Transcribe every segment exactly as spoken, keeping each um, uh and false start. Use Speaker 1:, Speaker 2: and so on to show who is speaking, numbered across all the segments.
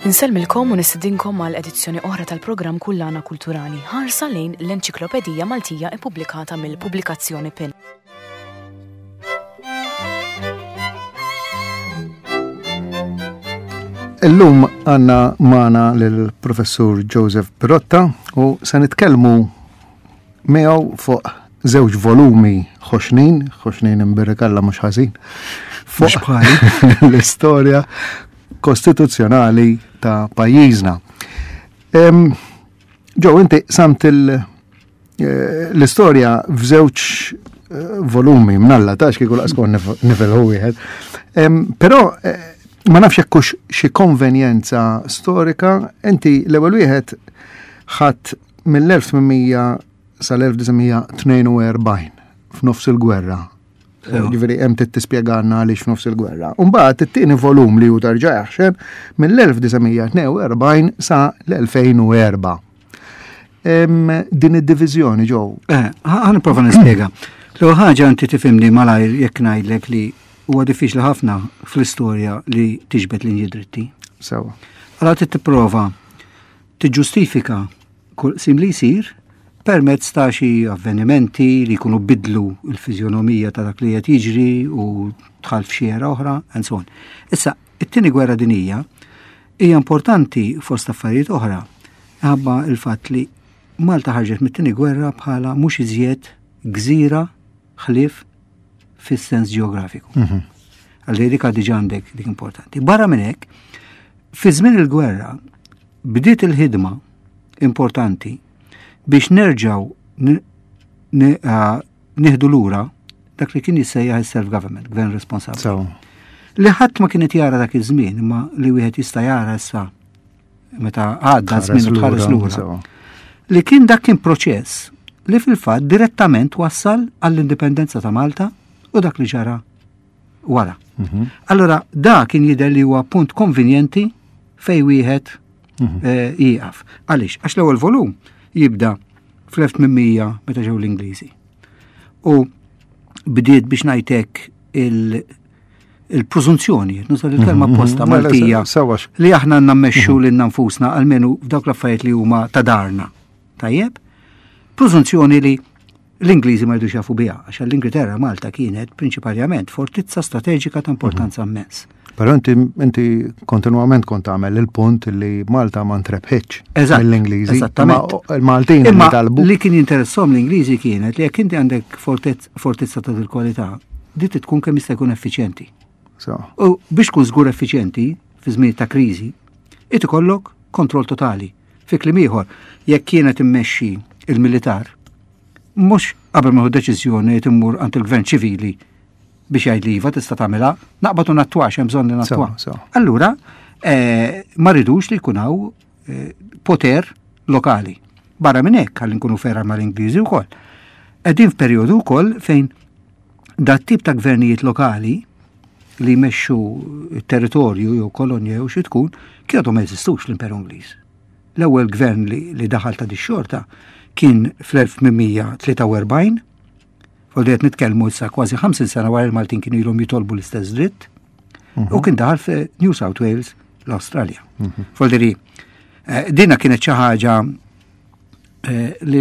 Speaker 1: Insellmilkom u nistedinkom għal edizzjoni oħra tal-programm Kullana Kulturali, ħarsa lejn l-Enċiklopedija Maltija ippubblikata mill-Pubblikazzjoni PIN.
Speaker 2: Illum għanna magħna lill-Professur Joseph Pirotta u se nitkellmu miegħu fuq żewġ volumi ħoxnin, ħoxnin imbirikalla mhux ħażin, fuq l-istorja kostituzzjonali ta' pajjiżna. Ġo, inti samt eh, l-istorja f'żewġ eh, volumi mnalla ta' kieku laqas kont nifelħu wieħed. Però eh, ma nafx hekk hux xi konvenjenza storika, inti l-ewwel wieħed ħadd mill-elf tmien mija sal-elf disa' mija tnejn u erbgħin f'nofs il-gwerra.
Speaker 3: Sewa.
Speaker 2: Ġifieri hemm trid tispjegana għaliex f'nofs il-gwerra. U mbagħad it-tieni volum li hu tarġa' jaħxen mill-elf disa' mija tnejn u erbgħin sa l-elfejn u erba'. Em, din id-diviżjoni ġew.
Speaker 3: Eh, ħa nipprova nispjega. L-ewwel ħaġa inti tifhimni malajr jekk ngħidlek li huwa diffiċli ħafna fl-istorja li tiġbed linji dritti.
Speaker 2: Sewa.
Speaker 3: Allora trid tipprova tiġġustifika kull qsim li jsir permezz ta' xi avvenimenti li jkunu bidlu l-fiżjonomija ta' dak li qed jiġri u tħall f'xi era oħra, and so on. Issa, it-tieni gwerra dinjija hija importanti fost affarijiet oħra ħabba il-fatt li Malta ħarġet mit-tieni gwerra bħala mhux iżjed gżira ħlief fis-sens ġeografiku.
Speaker 2: Mhm.
Speaker 3: Għalli dik diġà għandek dik importanti. Barra minn hekk, fi żmien il-gwerra bdiet il-ħidma importanti biex nerġgħu ni-, ni-, ah, nieħdu lura dak li kien jissejjaħ il-self-government, gvern responsabbli.
Speaker 2: So.
Speaker 3: Li ħadd ma kienet jara dak iż-żmien, imma li wieħed jista' jara issa meta għadda
Speaker 2: Tħares
Speaker 3: żmien u tħares
Speaker 2: lura,
Speaker 3: lura.
Speaker 2: sewa.
Speaker 3: Li kien dak kien proċess li fil-fatt direttament wassal għall-indipendenza ta' Malta u dak li ġara wara.
Speaker 2: Mhm.
Speaker 3: Allora, da kien jidher li huwa punt konvenjenti fej wieħed
Speaker 2: Mhm.
Speaker 3: eh, jieqaf. Għaliex? Għax l-ewwel volum jibda fl-elf tmien mija meta ġew l-Ingliżi. U bdiet biex ngħidlek il-, il-preżunzjoni, nuża il-kelma
Speaker 2: Mhm,
Speaker 3: apposta
Speaker 2: mhm. Mela,
Speaker 3: Maltija,
Speaker 2: se-, sewa x-
Speaker 3: li aħna għandna mmexxu
Speaker 2: Mhm.
Speaker 3: lilna nfusna almenu f'dawk l-affarijiet li huma ta' darna. Tajjeb? Preżunzjoni li l-Ingliżi ma jridux jafu biha, għax l-Ingilterra Malta kienet prinċipalment fortizza strateġika ta' importanza
Speaker 2: Mhm.
Speaker 3: immens.
Speaker 2: Però inti, inti kontinuament kont tagħmel il-punt li Malta ma ntrebħitx
Speaker 3: Eżatt,
Speaker 2: mill-Ingliżi.
Speaker 3: eżattament.
Speaker 2: Ma il-Maltin li
Speaker 3: Imma
Speaker 2: talbu.
Speaker 3: li kien jinteressom l-Ingliżi kienet li jekk inti għandek fortezz-, fortizza ta' dil-kwalità, di tkun kemm jista' jkun effiċjenti.
Speaker 2: So.
Speaker 3: U biex tkun żgur effiċjenti fi żmien ta' kriżi, it ikollok kontroll totali. Fi kliem ieħor, jekk kienet immexxi il-militar, mhux qabel ma hu deċiżjoni li timmur għand il-gvern ċivili biex jgħid li iva tista' tagħmilha, naqbad u nattwax, hemm bżonn li nattwa.
Speaker 2: Sewa, sewa.
Speaker 3: Allura, eh, ma ridux li jkun hawn, eh, poter lokali. Barra minn hekk, ħalli nkunu fera mal-Ingliżi wkoll. Qegħdin f'perjodu wkoll fejn dat tip ta' gvernijiet lokali li jmexxu territorju jew kolonja jew xi tkun, kienu ma jeżistux l-Imperu Ingliż. L-ewwel gvern li, li daħal ta' dix-xorta kien fl-elf tmien mija tlieta u erbgħin, u qed nitkellmu issa kważi ħamsin sena wara il-Maltin kienu ilhom jitolbu l-istess dritt, u kien daħal fi New South Wales, l-Awstralja.
Speaker 2: Mhm.
Speaker 3: Folderi, eh, dina kienet xi ħaġa, eh, li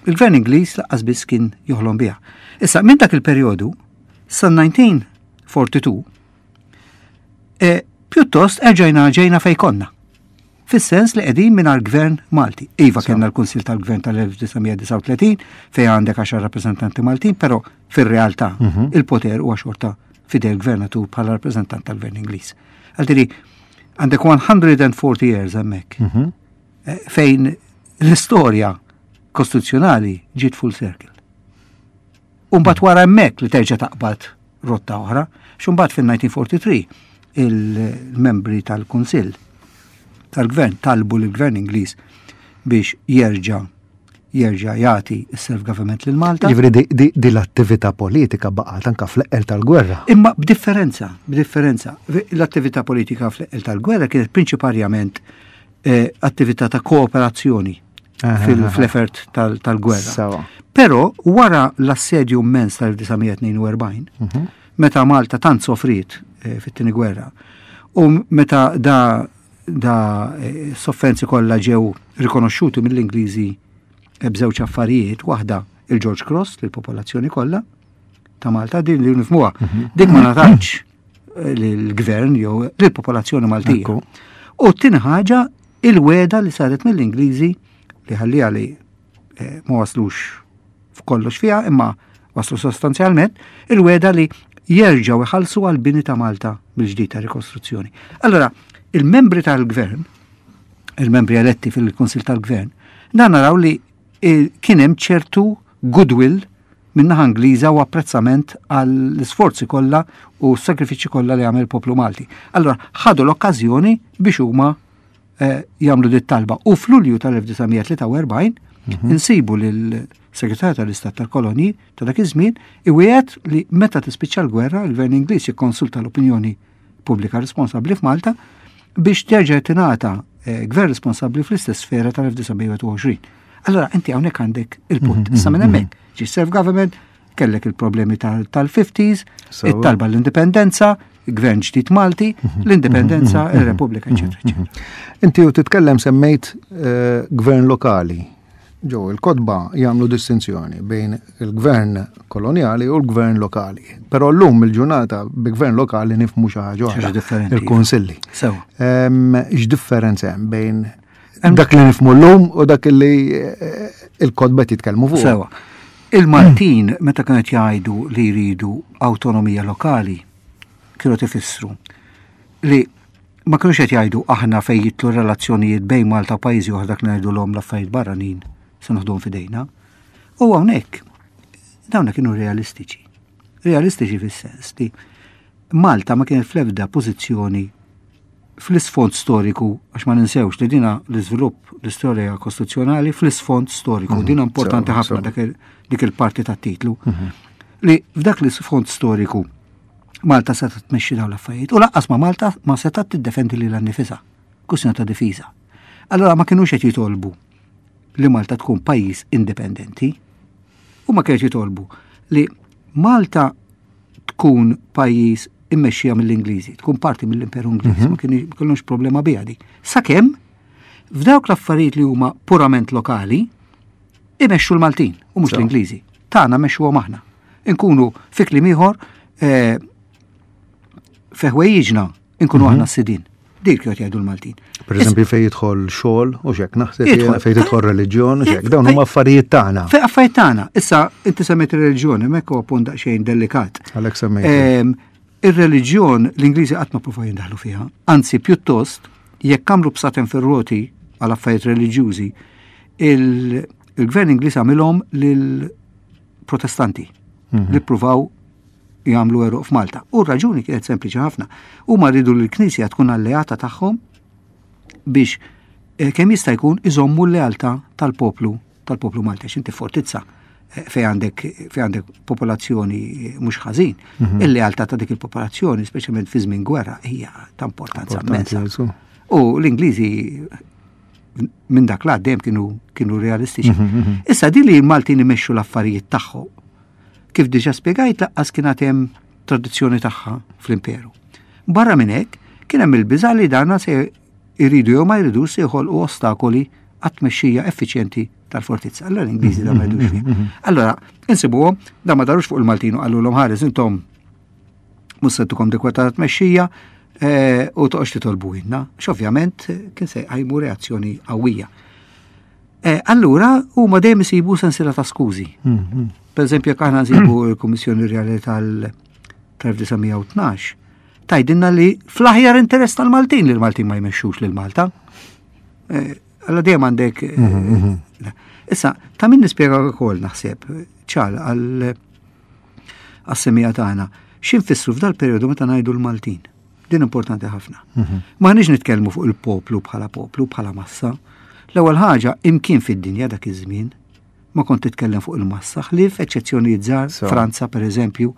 Speaker 3: l-gvern Ingliż lanqas biss kien joħlom biha. Issa, minn dak il-perjodu, sa nineteen forty-two, eh, pjuttost erġajna ġejna fej konna. Fis-sens li qegħdin mingħajr gvern Malti. Iva,
Speaker 2: Sewa.
Speaker 3: kellna l-Kunsill tal-Gvern tal-elf disa' mija disgħa u tletin fejn għandek għaxar rappreżentanti Maltin, però fir-realtà
Speaker 2: Mhm.
Speaker 3: il-poter huwa xorta fidel gvernatur bħala rappreżentant tal-Gvern Ingliż. Għaltiri, għandek one hundred and forty years hemmhekk,
Speaker 2: Mhm.
Speaker 3: eh, fejn l-istorja kostituzzjonali ġiet full circle. U mbagħad wara hemmhekk li terġa' taqbad rotta oħra, x'mbagħad fin-nineteen forty-three il-membri tal-Kunsill tal-Gvern talbu lill-Gvern Ingliż biex jerġa' jerġa' jagħti s-self-government lil Malta.
Speaker 2: Jiġifieri di, di, di l-attività politika baqgħet anke fl-eqqel tal-gwerra.
Speaker 3: Imma b'differenza, b'differenza. L-attività politika fl-eqqel tal-gwerra kienet prinċiparjament, eh, attività ta' kooperazzjoni
Speaker 2: Aha,
Speaker 3: fil-
Speaker 2: aha.
Speaker 3: fl-effort tal-, tal-gwerra.
Speaker 2: Sewa.
Speaker 3: Però wara l-assedju immens tal-elf disa' mija tnejn u erbgħin,
Speaker 2: Mhm.
Speaker 3: meta Malta tant sofriet, eh, fit-tieni gwerra, u meta da Da eh, sofferenzi kollha ġew rikonoxxuti mill-Ingliżi b'żewġ affarijiet, waħda il-George Cross lill-popolazzjoni kollha ta' Malta, din li nifhmuha. Mhm. Dik ma ngħatatx eh, lill-gvern jew lill-popolazzjoni Maltija. U t-tieni ħaġa, il-wegħda li saret mill-Ingliżi li ħallija li eh, ma waslux f'kollox fiha, imma waslu sostanzjalment, il-wegħda li jerġgħu iħallsu għal-bini ta' Malta bil-ġdid ta' rikostruzzjoni. Allora, il-membri tal-gvern, il-membri eletti fil-Kunsil tal-Gvern, dan naraw li eh, kien hemm ċertu goodwill min-naħa Ingliża u apprezzament għall-isforzi kollha u s-sagrifiċċji kollha li għamel il-poplu Malti. Allora, ħadu l-okkażjoni biex huma eh, jagħmlu dit talba. U f'Lulju tal-elf disa' mija tlieta u erbgħin mhm. insibu lil-Segretarju tal-Istat tal-Kolonji ta' dak iż-żmien iwiegħed li meta tispiċċa l-gwerra, il-Gvern Ingliż jikkonsulta l-opinjoni pubblika responsabbli f'Malta biex terġa' tingħata eh, gvern responsabbli fl-istess sfera tal-elf disa' mija u wieħed u għoxrin. Allora, inti hawnhekk għandek il-punt. Mhm, Issa minn mhm, hemmhekk ġi self-government, kellek il-problemi tal-fifties, it-talba l-indipendenza, gvern ġdid Malti, mhm, l-indipendenza, il-Repubblika, eċetera, eċetera.
Speaker 2: Inti u titkellem semmejt eh, gvern lokali. Ġo, il-kotba jagħmlu distinzjoni bejn il-gvern koloniali u l-gvern lokali. Però llum il-ġurnata bi gvern lokali nifhmu xi ħaġa oħra. Il-kunsilli. X'differenza hemm bejn dak li nifhmu llum u dak li eh, il-kotba jitkellmu fuq?
Speaker 3: Sewa. Il-Maltin meta kienet jgħidu li jridu autonomija lokali, kienu tifissru li ma kienux qed jgħidu aħna fejn jidħlu relazzjonijiet bejn Malta u pajjiżi oħra, dak ngħidulhom l-affarijiet barranin, se noħduhom f'idejna. U hawnhekk dawna kienu realistiċi. Realistiċi fis-sens li Malta ma kienet fl-ebda pożizzjoni fl-isfond storiku, għax ma ninsewx li dina l-iżvilupp l-istorja kostituzzjonali fl-isfond storiku, mhm. dina importanti ħafna dik il-parti tat-titlu, mhm. li f'dak l-isfond storiku Malta setgħet tmexxi dawn l-affarijiet u lanqas ma Malta ma setgħet tiddefendi lilha nnifisha, kwistjoni ta' difiża. Allora ma kinux qed jitolbu li Malta tkun pajjiż indipendenti, u ma kienx jitolbu li Malta tkun pajjiż immexxija mill-Ingliżi, tkun parti mill-Imperu Ingliż, mhm. ma kienux problema biha di. Sakemm f'dawk l-affarijiet li huma purament lokali imexxu l-Maltin u mhux l-Ingliżi. Tagħna mexxuhom aħna. Inkunu fi kliem ieħor eh, fi ħwejjiġna inkunu mhm. aħna s-sidin. Dik qed jgħidu l-Maltin.
Speaker 2: Per eżempju fejn jidħol xogħol u xek, naħseb fejn jidħol reliġjon u xek, dawn huma affarijiet tagħna.
Speaker 3: Fejn affarijiet tagħna. Issa inti semmejt ir-reliġjon, hemmhekk huwa punt daqsxejn delikat.
Speaker 2: Għalhekk semmejt.
Speaker 3: Ir-reliġjon l-Ingliżi qatt ma provaw jindaħlu fiha. Anzi, pjuttost, jekk għamlu bsaten fir-roti għal affarijiet reliġjużi, il-gvern Ingliż għamilhom lill-Protestanti mhm. li pruvaw jagħmlu eruq f'Malta. U r-raġuni kienet sempliċi ħafna. Huma rridu li l-Knisja tkun alleata tagħhom biex eh, kemm jista' jkun iżommu l-lealtà tal-poplu tal-poplu Malti. Inti fortizza eh, fej għandek fej għandek popolazzjoni mhux ħażin, mhm. il-lealtà ta' dik il-popolazzjoni, speċjalment fi żmien gwerra, hija ta' importanza immensa. U l-Ingliżi minn dak l dejjem kienu kienu realistiċi. Mhm, mhm. Issa di li l-Maltin imexxu l-affarijiet tagħhom, kif diġà spjegajt, lanqas kien hemm tradizzjoni tagħha fl-imperu. Barra minn hekk, kien hemm il-biża' li dana se jridu jew ma jridux se jħolqu ostakoli għat-tmexxija effiċjenti tal-fortizza. Allora l-Ingliżi da ma jridux fih. Allora, insibuhom, da ma darux fuq il-Maltin u qalulhom, "Ħares, intom mhux se tukom dik ta' tmexxija eh, u toqgħodx titolbu inna", x'ovvjament kien se jqajmu reazzjoni qawwija. Eh, allura huma dejjem isibu sensiela ta' skużi. Per eżempju, jekk aħna nsibu l-Kummissjoni Rjali tal-elf disa' mija u tnax, tgħidilna li fl-aħjar interess tal-Maltin li l-Maltin ma jmexxux lil Malta. Eh, Alla dejjem għandek. Eh, issa, ta' min nispjega wkoll naħseb, ċal għal għas-semmiegħa tagħna, x'infissru f'dal perjodu meta ngħidu l-Maltin. Din importanti ħafna. Ma nix nitkellmu fuq il-poplu bħala poplu, bħala massa. L-ewwel ħaġa, imkien fid-dinja dak iż-żmien ma kont titkellem fuq il-massa, ħlief eċċezzjonijiet żgħar, Franza per eżempju,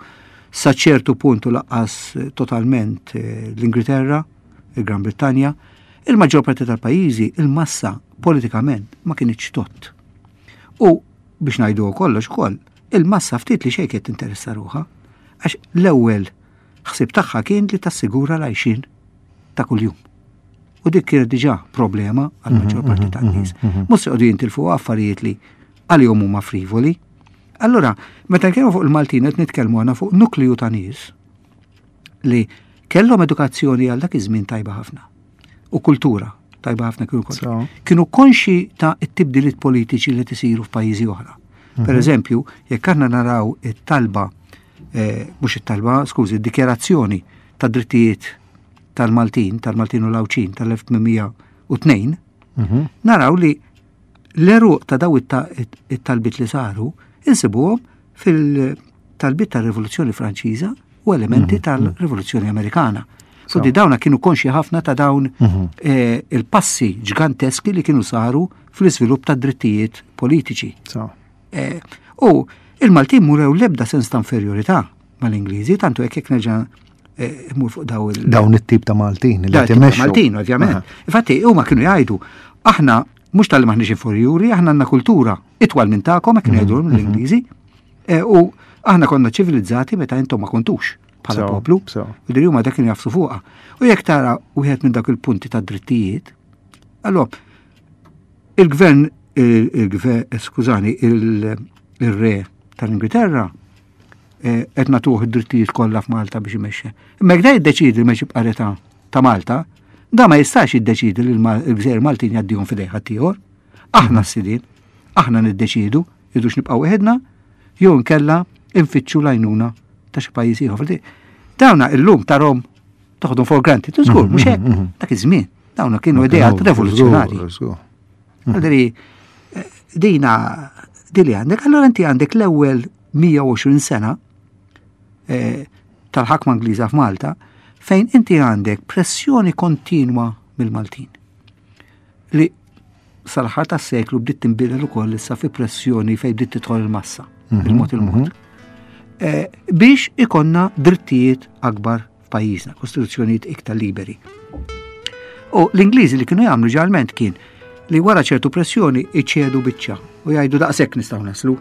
Speaker 3: sa ċertu puntu lanqas totalment eh, l-Ingilterra, il-Gran Brittanja, il-maġġor parti tal-pajjiżi il-massa politikament ma kinitx tot. U biex ngħidu kollox ukoll, il-massa ftit li xejn kienet tinteressa ruħha, għax l-ewwel ħsib tagħha kien li tassigura l-għajxin ta' kuljum. U dik kienet diġà problema għal maġġor parti mhm, tan-nies. Mhm, mhm. Mhux se jqogħdu jintilfu affarijiet li għalihom huma frivoli. Allura, meta nkellmu fuq il-Maltin qed nitkellmu għandna fuq nukliju ta' nies li kellhom edukazzjoni għal dak iż-żmien tajba ħafna u kultura tajba ħafna kienu kollha. Kienu konxi ta' it-tibdiliet politiċi li tisiru f'pajjiżi oħra. Per eżempju, jekk aħna naraw it-talba, eh, mhux it-talba, skużi, id-dikjarazzjoni ta' drittijiet tal-Maltin, tal-Maltin u l-Għawdxin tal-elf tmien mija u tnejn, mhm. naraw li l-eruq ta' daw it-talbit li saru insibuhom fil-talbit tal-Rivoluzzjoni Franċiża u elementi mhm. tal-Rivoluzzjoni Amerikana. Fuq dawna kienu konxi ħafna ta' dawn mhm. eh, il-passi ġganteski li kienu saru fl-iżvilupp ta' drittijiet politiċi. Eh, u il-Maltin murew lebda sens ta' inferjorità mal-Ingliżi, tantu hekk jekk nerġa' eh, imur fuq daw il-
Speaker 2: Dawn it-tip ta' Maltin
Speaker 3: li timexxu. Maltin, ovvjament. Infatti, huma kienu jgħidu, aħna mhux tal-li maħniex inferjuri, aħna għandna kultura itwal minn tagħkom, hekk kienu jgħidu mhm, l-Ingliżi, eh, u aħna konna ċivilizzati meta intom ma kontux bħala poplu. U dir huma dak kienu jafsu fuqha. U jekk tara wieħed minn dak il-punti ta' drittijiet, allora il-gvern il-gvern, skużani, il-re tal-Ingilterra eh, qed nagħtuh id-drittijiet kollha f'Malta biex imexxi. Imma jekk da jiddeċidi li ma jibqa' re ta' Malta, da ma jistax jiddeċidi li l-gżejjer Maltin jgħaddihom f'idejn ħaddieħor. Aħna s-sidien, aħna niddeċidu idux nibqgħu weħidna jew nkella infittxu l-għajnuna ta' xi pajjiż ieħor. Dawna illum tarhom toħodhom for granted, żgur, mhux hekk, mhm, mhm. dak iż-żmien. Dawna kienu ideat rivoluzzjonari. Għaldiri, eh, dina dili għandek, allora inti għandek l-ewwel mija u għoxrin sena eh, tal-ħakma Ingliża f'Malta, fejn inti għandek pressjoni kontinwa mill-Maltin. Li sal-aħħar tas-seklu bdiet tinbidel ukoll issa fi pressjoni fejn bdiet tidħol il-massa, mhm, il-mod il-mod. Mhm. Eh, biex ikonna drittijiet akbar f'pajjiżna, kostituzzjonijiet iktar liberi. U l-Ingliżi li kienu jagħmlu ġalment kien li wara ċertu pressjoni iċedu biċċa u jgħidu daqshekk nistgħu naslu.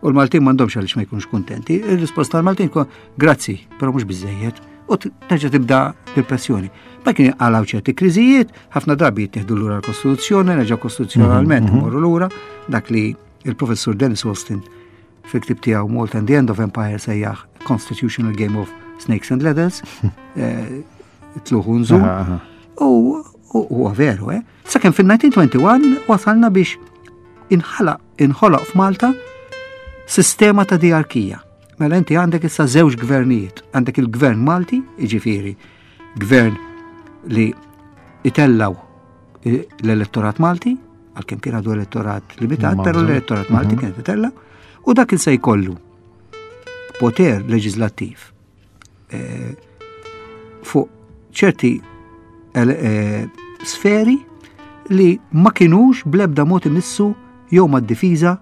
Speaker 3: U l-Maltin m'għandhomx għaliex ma jkunux kuntenti. Il-risposta tal-Maltin kun grazzi, però mhux biżejjed. U terġa' tibda il-pressjoni. Ma kien għalaw ċerti kriżijiet, ħafna drabi jittieħdu lura l-Kostituzzjoni, nerġa' kostituzzjonalment mhm, mhm. morru lura, dak li il-professur Dennis Austin fil-ktib tiegħu Malta and the End of Empire sejjaħ Constitutional Game of Snakes and Ladders, eh, tluħu nżul. U huwa veru, eh? Sakemm fil-elf disa' mija u wieħed u għoxrin wasalna biex inħalaq inħoloq f'Malta sistema ta' diarkija. Mela inti għandek issa żewġ gvernijiet. Għandek il-gvern Malti, jiġifieri gvern li itellaw l-elettorat Malti, għalkemm kien għadu elettorat limitat, però l-elettorat Malti mhm. kien itella, u dak il se jkollu poter leġislattiv eh, fuq ċerti eh, sferi li ma kienux blebda mod imissu jew mad-difiża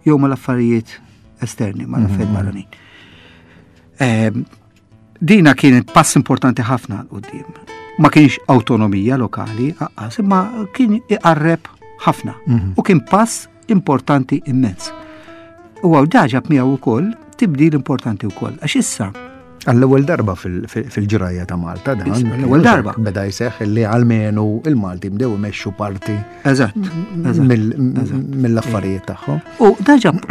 Speaker 3: jew mal-affarijiet esterni, mal-affarijiet mhm. barranin. Ehm, dina kienet pass importanti ħafna quddiem. Ma kienx autonomija lokali, aqqas, imma kien iqarreb ħafna. Mhm. U kien pass importanti immens. U għaw daġab miegħu wkoll tibdil importanti wkoll. Għax issa
Speaker 2: Għall-ewwel darba fil-ġrajja ta' Malta dan.
Speaker 3: L-ewwel darba.
Speaker 2: Beda jseħħ li għalmenu il-Malti bdew imexxu parti
Speaker 3: Eżatt.
Speaker 2: mill-affarijiet tagħhom.
Speaker 3: U daġab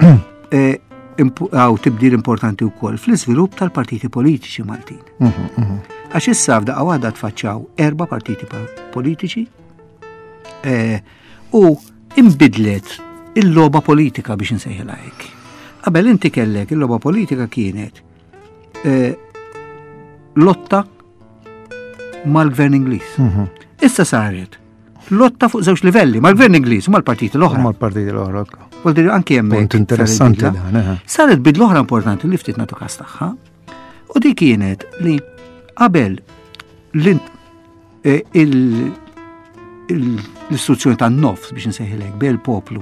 Speaker 3: eh, għaw tibdil importanti wkoll fl-iżvilupp tal-partiti politiċi Maltin. Mhm, mhm. Għax issa f'daqqa waħda tfaċċaw erba' partiti politiċi eh, u imbidlet il-logħba politika biex nsejħilha hekk. Qabel inti kellek il-logħba politika kienet Eh, lotta mal-gvern Ingliż. Mhm. Issa saret lotta fuq żewġ livelli, mal-gvern Ingliż u mal-partiti l-oħra.
Speaker 2: Mal-partiti l-oħra.
Speaker 3: Vuol dire anki hemmhekk.
Speaker 2: Punt interessanti dan. Eh.
Speaker 3: Saret bidla oħra importanti li ftit nagħtu każ tagħha. U di kienet li qabel eh, l-istruzzjoni tan-nofs biex nsejħilek bejn il-poplu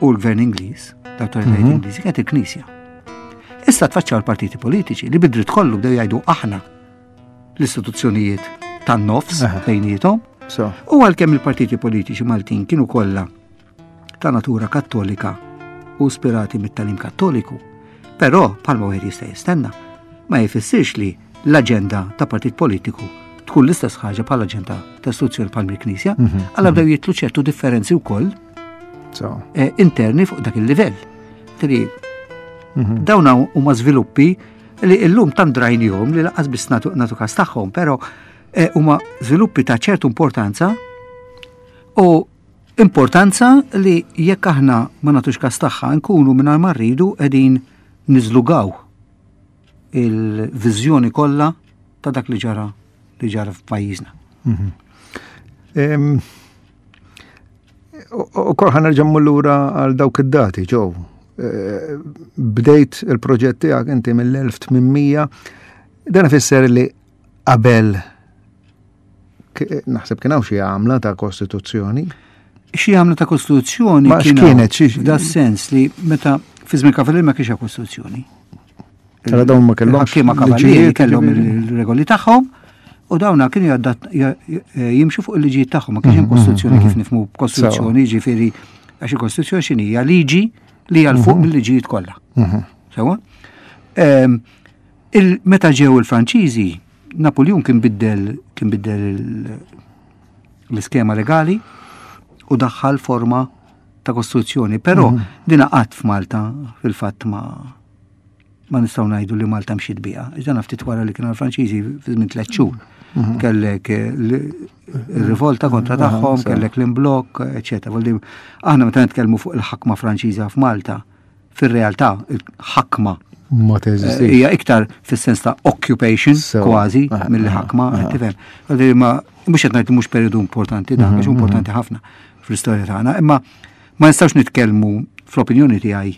Speaker 3: u l-gvern Ingliż, l-awtoritajiet mhm. Ingliżi kienet il-Knisja. Issa tfaċċaw l-partiti politiċi li bidrit kollu bdew jgħidu aħna l-istituzzjonijiet tan-nofs bejniethom. U għalkemm il-partiti politiċi Maltin kienu kollha ta' natura kattolika u ispirati mit-tagħlim kattoliku, però bħalma wieħed jista' jistenna, ma jfissirx li l-aġenda ta' partit politiku tkun tkun l-istess ħaġa bħala aġent ta' istituzzjoni bħal mill-Knisja, għalla bdew jitlu ċertu differenzi wkoll eh, interni fuq dak il-livell. Tri, mhm. dawn huma żviluppi li llum tant drajnihom li lanqas biss nagħtu każ tagħhom, però eh, huma żviluppi ta' ċertu importanza u importanza li jekk aħna ma nagħtux każ tagħha nkunu mingħajr ma rridu qegħdin niżlugaw il-viżjoni kollha ta' dak li ġara li ġara f'pajjiżna.
Speaker 2: Mhm. U kol ħa nerġa' lura għal dawk id-dati, ġew. Eh, bdejt il-proġett tiegħek inti mill-elf tmien mija, dan ifisser li qabel naħseb kien hawn xi għamla ta' kostituzzjoni.
Speaker 3: Xi għamla ta' kostituzzjoni.
Speaker 2: Ma x'kienet xi
Speaker 3: da sens li meta fi żmien Kavallieri ma kienx kostituzzjoni.
Speaker 2: Tara dawn ma kellhomx.
Speaker 3: Ħakkiema Kavallieri kellhom il-regoli tagħhom u dawna kienu jimxu fuq il-liġijiet tagħhom, ma kienx hemm mhm, kostituzzjoni kif mhm. nifhmu kostituzzjoni, ġifieri għax il-kostituzzjoni x'inhi hija liġi li hija fuq mhm. mill-liġijiet kollha. Sewa? Meta ġew il-Franċiżi, Napoleon kien biddel kien biddel l-iskema legali u daħħal forma ta' kostituzzjoni, però dina qatt f'Malta fil-fatt ma ma nistgħu ngħidu li Malta mxiet biha. Iżda ftit wara li kienu l-Franċiżi fi żmien tliet xhur. Mhm. Kellek il-rivolta kontra tagħhom, kellek l-imblokk, eċetera. Aħna meta nitkellmu fuq il-ħakma Franċiża f'Malta, fir-realtà il-ħakma
Speaker 2: ma teżistix.
Speaker 3: Hija iktar fis-sens ta' occupation kważi mill ħakma, tifhem. Ma mhux qed ngħid mhux periodu importanti dak, għax mhm, importanti mhm. ħafna fl-istorja tagħna, imma ma nistgħux nitkellmu fl-opinjoni tiegħi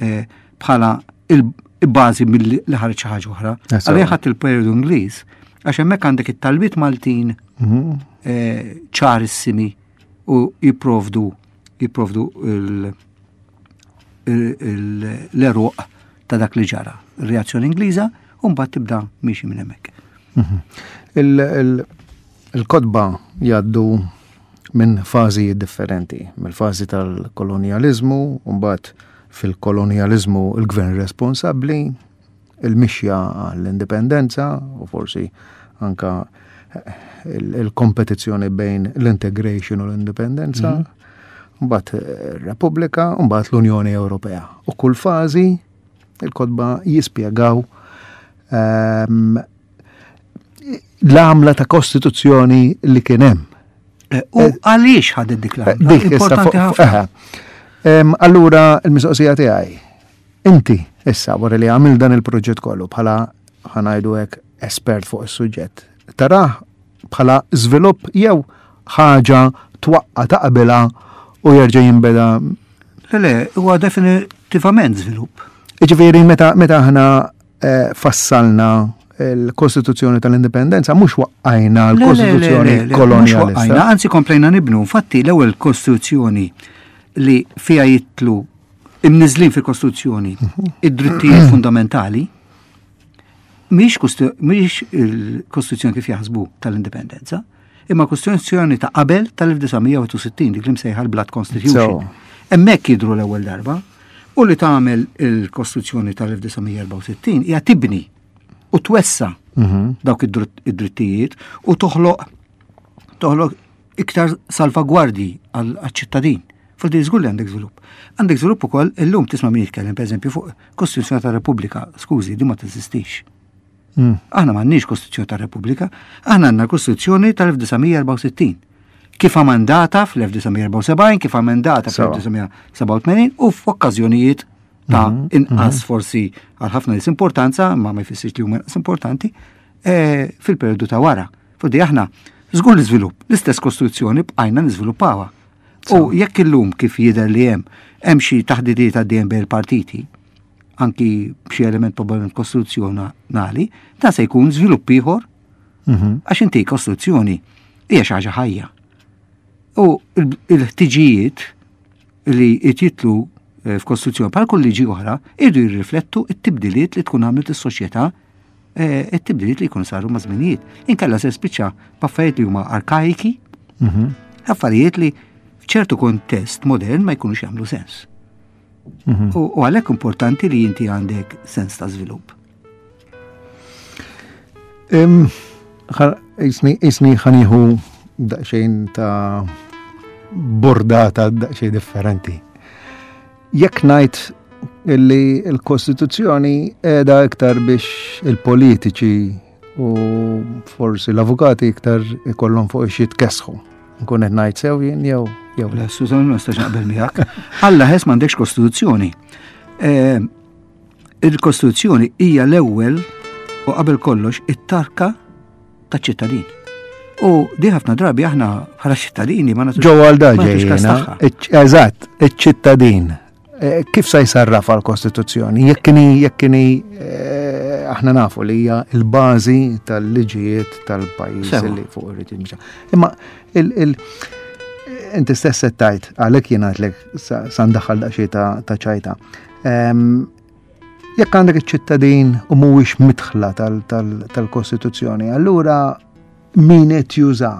Speaker 3: eh, bħala il-bażi mill-li ħareġ xi ħaġa oħra. Għalija ħadd il-periodu Ingliż għax hemmhekk għandek it-talbiet Maltin mhm. eh, ċarissimi u jipprovdu jipprovdu l-eruq ta' dak li ġara. Reazzjoni Ingliża u mbagħad tibda miexi minn hemmhekk.
Speaker 2: Mhm. Il-kotba jgħaddu minn fażi differenti, mill-fażi tal-kolonializmu, mbagħad fil-kolonializmu il-gvern responsabbli, il-mixja għall-indipendenza u forsi anka il-kompetizzjoni bejn l-integration u l-indipendenza, mhm. mbagħad ir-Repubblika, mbagħad l-Unjoni Ewropea. U kull fażi il-kotba jispjegaw ehm, l-għamla ta' kostituzzjoni li kien hemm.
Speaker 3: Eh, u għaliex ħadet dik l-għamla?
Speaker 2: Dik
Speaker 3: importanti ħafna.
Speaker 2: Allura il-mistoqsija tiegħi, inti issa wara li għamil dan il-proġett kollu bħala ħa ngħidu hekk espert fuq is-suġġett, tarah bħala żvilupp jew ħaġa twaqqa taqbilha u jerġa' jinbeda?
Speaker 3: Le, le, huwa definitivament żvilupp.
Speaker 2: Ġifieri meta meta aħna eh, fassalna l-Kostituzzjoni tal-Indipendenza mhux waqqajna l-Kostituzzjoni kolonialista.
Speaker 3: Anzi komplejna nibnu, infatti l-ewwel Kostituzzjoni li fija jitlu imniżlin fil-Kostituzzjoni mhm. id-drittijiet fundamentali mhix il-Kostituzzjoni kif jaħsbu tal-Indipendenza, imma Kostituzzjoni ta' qabel tal-elf disa' mija u wieħed u sittin, dik li msejħa l-Blood Constitution. Hemmhekk jidru l-ewwel darba u li tagħmel il-Kostituzzjoni tal-elf disa' mija erbgħa u sittin hija tibni u twessa mhm. dawk id-drittijiet u toħloq toħloq iktar salvagwardji għal-ċittadin. Fil żgur li għandek żvilupp. Għandek żvilupp ukoll illum tisma' min jitkellem pereżempju fuq Kostituzzjoni tar-Repubblika, skużi, di ma teżistix. Mm. Aħna m'għandniex Kostituzzjoni tar-Repubblika, aħna għandna Kostituzzjoni tal-elf disa' mija erbgħa u sittin. Kif amendata fl-elf disa' mija erbgħa u sebgħin, kif amendata fl-elf disa' mija sebgħa u tmenin u f'okkażjonijiet ta' mhm, inqas mhm. forsi għal ħafna nies importanza, ma ma jfissirx li huma inqas importanti, eh, fil-periodu ta' wara. Fodi aħna żgur l-iżvilupp, l-istess Kostituzzjoni bqajna niżviluppawha. U jekk illum kif jidher li hemm hemm xi taħdidiet għaddejjem bejn il-partiti, anki b'xi element probabbilment kostituzzjonali, ta' se jkun żvilupp ieħor. Mhm. Għax inti kostituzzjoni hija xi ħaġa ħajja. U il-ħtiġijiet li jitlu eh, f'kostituzzjoni bħal kull liġi oħra irdu jirriflettu it-tibdiliet li tkun għamlet is-soċjetà, eh, it-tibdiliet li jkunu saru ma' żminijiet. Inkella se spiċċa b'affarijiet li huma arkaiki, mhm. affarijiet li f'ċertu kontest modern ma jkunux jagħmlu sens. Mhm. U għalhekk importanti li inti għandek sens ta' żvilupp.
Speaker 2: Isni ħa nieħu daqsxejn ta' bordata daqsxejn differenti. Jekk ngħid illi l-Kostituzzjoni qiegħda iktar biex il-politiċi u forsi l-avukati iktar ikollhom fuq xi jitkessħu. Nkun qed ngħid sew jien jew jew
Speaker 3: Le, Susan, ma nistax naqbel miegħek. Alla ħes m'għandekx kostituzzjoni. Eh, il-Kostituzzjoni hija l-ewwel u qabel kollox it-tarka taċ-ċittadin. U di ħafna drabi aħna bħala ċittadini ma nagħtux
Speaker 2: Ġo għal
Speaker 3: ma nagħtux kas
Speaker 2: ġejjena,
Speaker 3: tagħha.
Speaker 2: eżatt, iċ-ċittadin. Eh, Kif sa jsarraf għal-Kostituzzjoni? Jekk inhi jekk inhi eh, aħna nafu li hija l-bażi tal-liġijiet tal-pajjiż
Speaker 3: Sewa.
Speaker 2: li fuq irid jimxi. Imma il, il inti stess qed tgħid għalhekk jien għedtlek sa sa ndaħħal daqsxejn ta' ta' ċajta. Ehm, Jekk għandek iċ-ċittadin u mhuwiex midħla tal- tal- tal-Kostituzzjoni, allura min qed juża?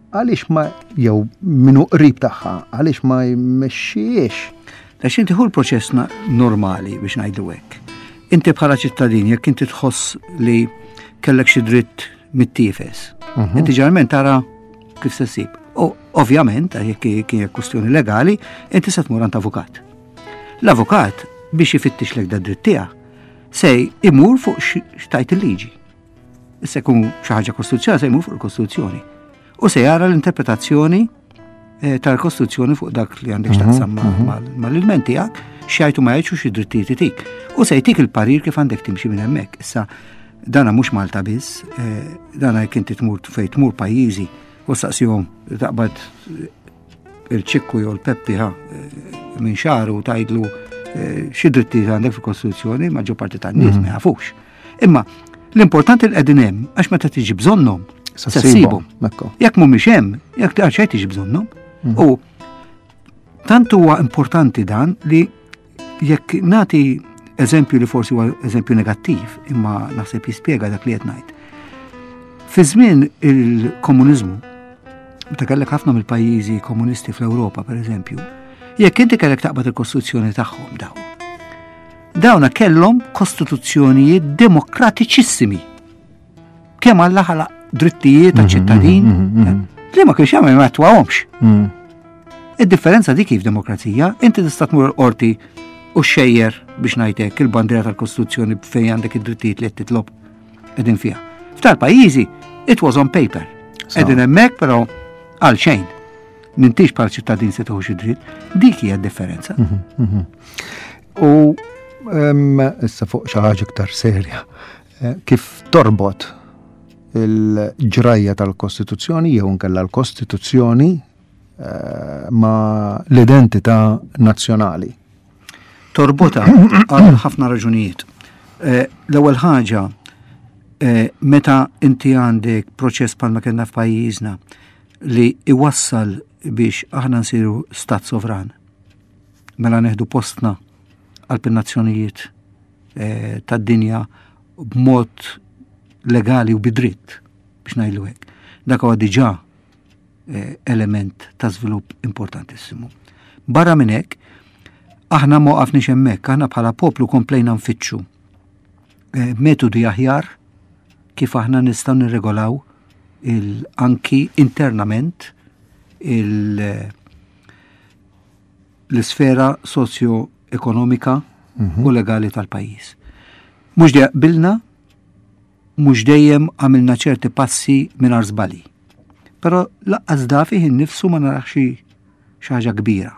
Speaker 2: Għaliex ma jew min hu qrib tagħha, għaliex ma jmexxijiex?
Speaker 3: Għax inti hu l-proċess na- normali biex ngħidu hekk. Inti bħala ċittadin jekk inti tħoss li kellek xi dritt mittiefes, inti ġeneralment tara kif se ssib. U ovvjament, jekk kien kwestjoni legali, inti se tmur għand avukat. L-avukat biex ifittix lek da dritt tiegħek se imur fuq x'tgħid il-liġi. Issa jkun xi ħaġa kostituzzjonali se jmur fuq il-Kostituzzjoni. U se jara l-interpretazzjoni eh, tal-Kostituzzjoni fuq dak li għandek x'taqsam ma- mal-ilment tiegħek, x'jgħidu ma jgħidx u xi drittijiet itik. U se jtik il-parir kif għandek timxi minn hemmhekk. Issa dana mhux Malta biss, eh, dana jekk inti tmur fejn tmur pajjiżi u saqsihom taqbad il-ċikku jew l-Peppi ha eh, minn xagħru u tgħidlu eh, xi drittijiet għandek fil-Kostituzzjoni, maġġor parti tan-nies ma jafux. Imma l-importanti li qegħdin hemm għax meta tiġi bżonnhom
Speaker 2: Sa
Speaker 3: se
Speaker 2: ssibhom.
Speaker 3: ssibhom.
Speaker 2: Ekku.
Speaker 3: Jekk mhumiex hemm, jekk għal xejn tiġi bżonnhom. U tant huwa importanti dan li jekk nagħti eżempju li forsi huwa eżempju negattiv, imma naħseb jispjega dak li qed ngħid. Fi żmien il-komuniżmu, meta kellek ħafna mill-pajjiżi komunisti fl-Ewropa, per eżempju, jekk inti kellek taqbad il-kostituzzjoni tagħhom dawn. Dawna kellhom kostituzzjonijiet demokratiċissimi. Kemm Alla ħalaq drittijiet ta' ċittadin li ma kienx jagħmel ma attwahomx.
Speaker 2: Mm.
Speaker 3: Id-differenza dik kif demokrazija, inti tista' tmur l-qorti u xejjer biex ngħidlek il-bandiera tal-Kostituzzjoni fejn għandek id-drittijiet li qed titlob qegħdin fiha. F'tal pajjiżi it was on paper.
Speaker 2: So.
Speaker 3: Qegħdin hemmhekk però għal xejn. M'intix bħal ċittadin se tieħu xi dritt, dik hija d-differenza.
Speaker 2: U em, issa fuq xi ħaġa iktar serja. Eh, Kif torbot il-ġrajja tal-Kostituzzjoni jew nkella l-Kostituzzjoni eh, ma l-identità nazzjonali.
Speaker 3: Torbota għal ħafna raġunijiet. Eh, L-ewwel ħaġa, eh, meta inti għandek proċess bħalma kellna f'pajjiżna li iwassal biex aħna nsiru stat sovran, mela neħdu postna għal nazzjonijiet eh, tad-dinja b'mod legali u bidritt biex ngħidlu hekk. Dak huwa diġà eh, element ta' żvilupp importantissimu. Barra minn hekk, aħna ma waqafniex hemmhekk, aħna bħala poplu komplejna nfittxu eh, metodi aħjar kif aħna nistgħu nirregolaw il anki internament il l-isfera socio-ekonomika u legali tal-pajjiż. Mhux dejjem qbilna, mhux dejjem għamilna ċerti passi mingħajr żbalji. Però lanqas da fih innifsu ma narax xi ħaġa kbira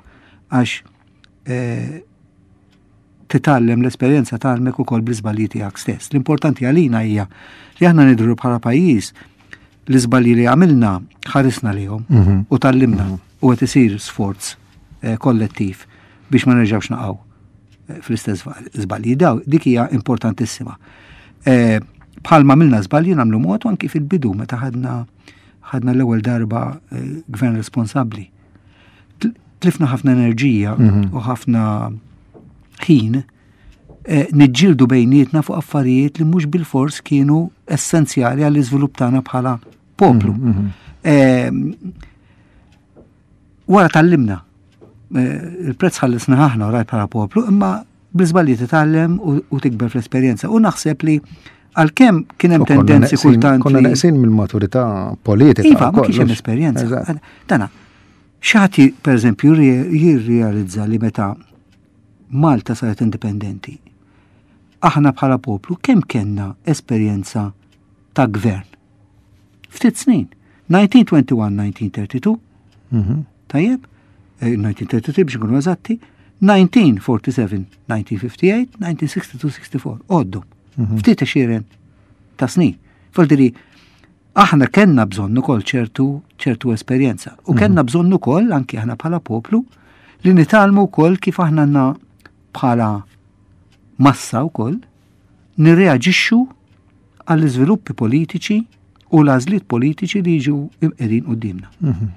Speaker 3: għax eh, titgħallem l-esperjenza tgħallmek ukoll bl-iżbalji tiegħek stess. L-importanti għalina hija li aħna nidhru bħala pajjiż l-iżbalji li għamilna ħarisna lihom u tgħallimna u qed isir sforz eh, kollettiv biex ma nerġgħux naqgħu eh, fl-istess żbalji. Daw dik hija importantissima. Eh, Bħalma għamilna żbalji nagħmlu mod anki fil-bidu meta ħadna ħadna l-ewwel darba eh, gvern responsabbli. Tl- Tlifna ħafna enerġija u ħafna ħin eh, niġġieldu bejnietna fuq affarijiet li mhux bil-fors kienu essenzjali għall-iżvilupp tagħna bħala poplu. Eh, Wara tgħallimna. Eh, Il-prezz ħallisna aħna raj bħala poplu, imma bl-iżbalji titgħallem u u tikber fl-esperjenza. U naħseb li Għalkemm kien hemm tendenzi kultant.
Speaker 2: Konna neqsin mill-maturità politika.
Speaker 3: Iva, ma kienx hemm esperjenza. Dana, xati, per eżempju, jirrealizza li meta Malta saret indipendenti, aħna bħala poplu kemm kellna esperjenza ta' gvern? Ftit snin. elf disa' mija u wieħed u għoxrin-elf disa' mija u tlieta u tletin, mhm. tajjeb, elf disa' mija u tlieta u tletin biex nkunu eżatti, elf disa' mija u erbgħa u erbgħin, elf disa' mija u ħamsa u ħamsin, elf disa' mija u sitta u sittaw, għoddu. Mhm. Ftit għexieren ta' snin. Voldiri, aħna kellna bżonn ukoll ċertu ċertu esperjenza. U mhm. kellna bżonn ukoll anki aħna bħala poplu li nitgħallmu wkoll kif aħna għandna bħala massa wkoll nirreaġixxu għall-iżviluppi politiċi u l-għażliet politiċi li jiġu qegħdin quddiemna.
Speaker 2: Mhm,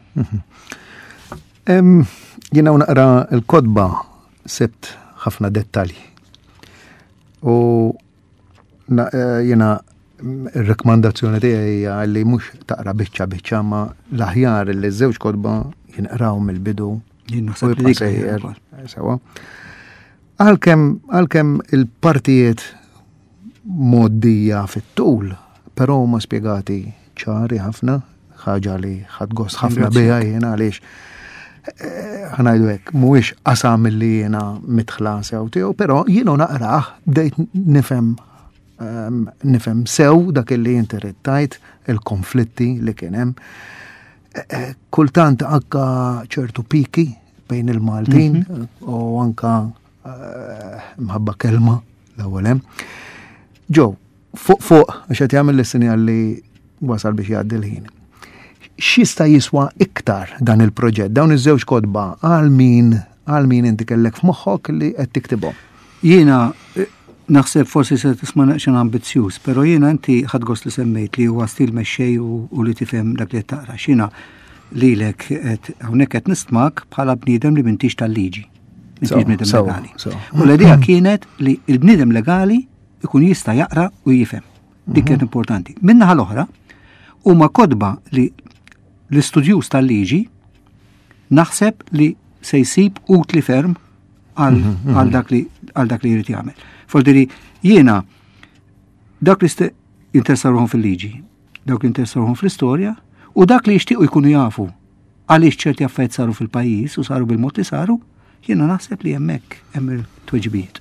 Speaker 2: Jiena naqra l-kotba sibt ħafna dettalji. U eh, jiena il-rekomandazzjoni tiegħi hija li mhux taqra biċċa biċċa, ma l-aħjar li żewġ kotba jinqraw mill-bidu. Sewa. Għalkemm għalkemm il-partijiet moddija fit-tul, però huma spjegati ċari ħafna, ħaġa li ħadt gost ħafna biha jiena għaliex eh, ħa ngħidu hekk, mhuwiex qasam li jiena midħla sew tiegħu, però jiena naqrah bdejt nifhem ehm, nifhem sew dak li inti tajt il-konflitti li kien hemm. Eh, eh, kultant anka ċertu piki bejn il-Maltin mhm. u anka mħabba kelma l-ewwel hemm. Ġo, fuq fuq, għax qed jagħmel l-sinjal li wasal biex jgħaddi l-ħin. X'jista' jiswa iktar dan il-proġett, dawn iż-żewġ kotba, għal min għal min inti kellek f'moħħok li qed tiktibhom?
Speaker 3: Jiena eh, naħseb forsi se tisma' naqxan ambizzjuż, però jiena inti ħadt gost li semmejt li huwa stil mexxej u li tifhem dak li qed taqra. X'jiena lilek qed hawnhekk qed nistmak bħala bniedem li m'intix tal-liġi. M'intix bniedem legali. U l-idea kienet li l-bniedem legali ikun jista' jaqra u jifhem. Dik kienet mhm. importanti. Min-naħa l-oħra, huma kotba li l-istudjuż tal-liġi naħseb li se jsib utli ferm għal mhm, mhm. dak li għal dak li jrid jagħmel. Voldiri jiena dak li jinteressaw ruħhom fil-liġi, dawk li jinteressaw ruħhom fl-istorja u dak li jixtiequ jkunu jafu għaliex ċerti affarijiet saru fil-pajjiż u saru bil-mod li saru, jiena naħseb li hemmhekk hemm il-tweġibiet.